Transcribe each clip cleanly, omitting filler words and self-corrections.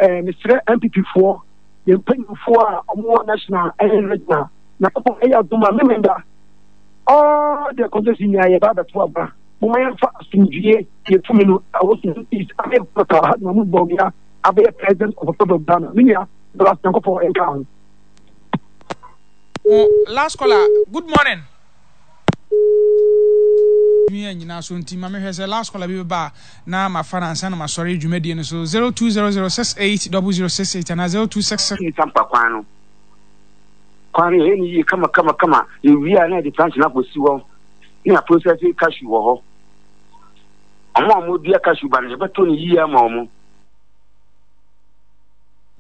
Eh, mesrɛ NPP foɔ, yɛn mpanyinfoɔ a wɔn wɔ national ɛne regional, na kɔpɔn ɛyɛ adom a memenda all the constituency nyinaa yɛba abɛto aba. Momma yɛmfa asomdwie yɛ tumi no ɛwɔ Sudan East ame Dr. Alhaji Mahmoud Bawumia abɛyɛ president of Republic of Ghana. Me nua, Douglas Nyankopɔn nka ho. Last caller, good morning. Nua nyinaa so nti ma mehwɛ sɛ last caller bi bɛba a na mafa no ansa na masɔre dwumadie no so 0200680068 anaa 0266. Ne sampa kwan no kwan no yɛyɛ no yie kama kama kama yɛwie a na yɛde plantain no akɔsi hɔ ne aprosɛse cashew wɔ hɔ wɔn a wɔdua cashew ba no yɛbɛtɔ no yie ama wɔn.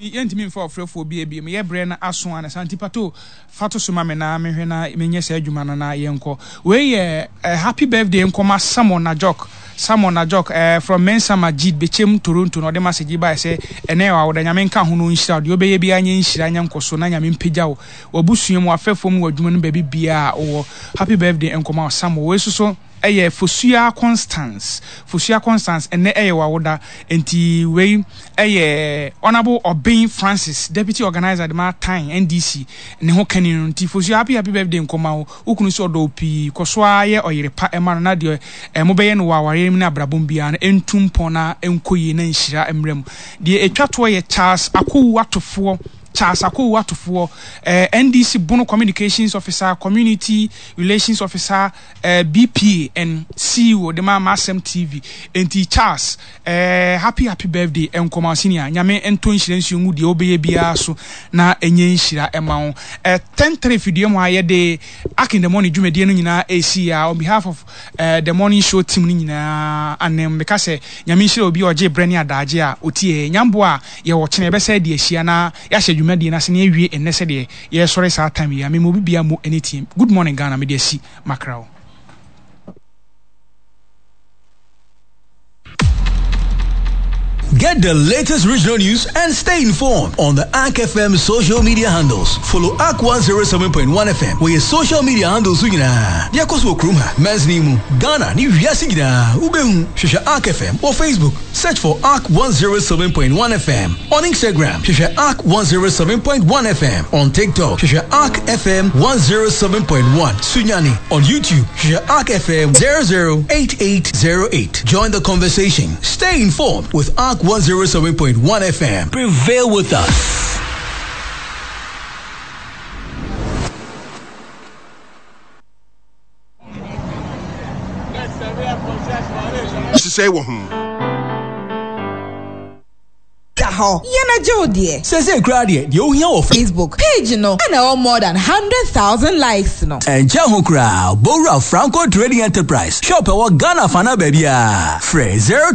Yɛntumi mfa ɔfrɛfoɔ biara bio. Meyɛ berɛ no aso ansa nti Pato fa to so ma me na menhwɛ na menyɛ saa adwuma no na yɛnkɔ. Wei yɛ eh, happy birthday nkɔma Samuel Najok. Samuel Najok eh, from Mensa Majid, Bechem, Toronto na ɔde message yi baeɛ sɛ ɛnɛ yɛ w'awoda. Nyame nka ho na ɔnhyira wo. Deɛ wobɛyɛ biara nyɛ nhyira nyɛ nkɔso na Nyame mpagya wo. W'abusua mu, w'afɛfoɔ mu, w'adwuma no mu, baabi biara a wowɔ. Happy birthday nkɔma wo Samuel. Wei nso so ɛyɛ Fosuaa Constance. Fosuaa Constance, ɛnnɛ ɛyɛ w'awoda. Enti wei ɛyɛ Honourable Obeng Francis, Deputy Organiser de ma Tan, NDC, ne ho kani no. Nti Fosuaa, happy happy birthday nkɔma wo. Wo kunu nso ɔdɔ wo pii. Kɔ so ara yɛ ɔyere pa ma no na deɛ mobɛyɛ no wɔ awareɛ mu ne abrabɔ mu biara no ɛntu mpɔn na ɛnkɔ yie na nhyira mmra mu. Deɛ ɛtwa toɔ yɛ Charles Akowu Atofoɔ, Charles Akowu Atofoɔ, NDC Bono Communications Officer, Community Relations Officer, eh, BPA and CEO de ma M'asɛm TV. Enti Charles, eh, happy happy birthday nkɔma wo senior. Nyame ntɔ nhyira nsuo ngu deɛ wobɛyɛ biara so na ɛnyɛ nhyira ɛma wo. Eh, 10-3 fidua mu ha yɛde Ark in the Morning dwumadie no nyinaa ɛresi ya on behalf of eh, the morning show team no nyinaa anem meka sɛ Nyame nhyira obi a ɔgye berɛ ne adaagye a ɔtie Nyamboa a yɛwɔ kyena yɛbɛsɛ de ahyia na yɛahyɛ dwumadie no ase na yɛawie nnɛ sɛdeɛ Yɛsɔre saa time yi a mema obi biaa mo ani team. Good morning Ghana mede asi makra o. Get the latest regional news and stay informed on the ARK FM social media handles. Follow ARK 107.1 FM wɔ yɛ social media handles so nyinaa. Deɛ ɛkɔ so wɔ kurom ha, mansini mu, Ghana ne wiase nyinaa, wobɛhu. Hwehwɛ ARK FM wɔ Facebook. Search for ARK 107.1 FM on Instagram. Hwehwɛ ARK 107.1 FM on TikTok. Hwehwɛ ARK FM 107.1 Sunyani on YouTube. Hwehwɛ ARK FM 008808. Join the conversation. Stay informed with ARK 107.1 FM. Prevail with us. Nhyehyɛe wɔ ho. Da hɔ, yɛn agye wo deɛ. Seesei koraa deɛ, deɛ wohia wɔ. Facebook page no na ɛwɔ more than 100,000 likes no. Ɛnkyɛ ho koraa, bɔ wura Franco Trading Enterprise shop ɛwɔ Ghana afanaa baabiara. Frɛ 0.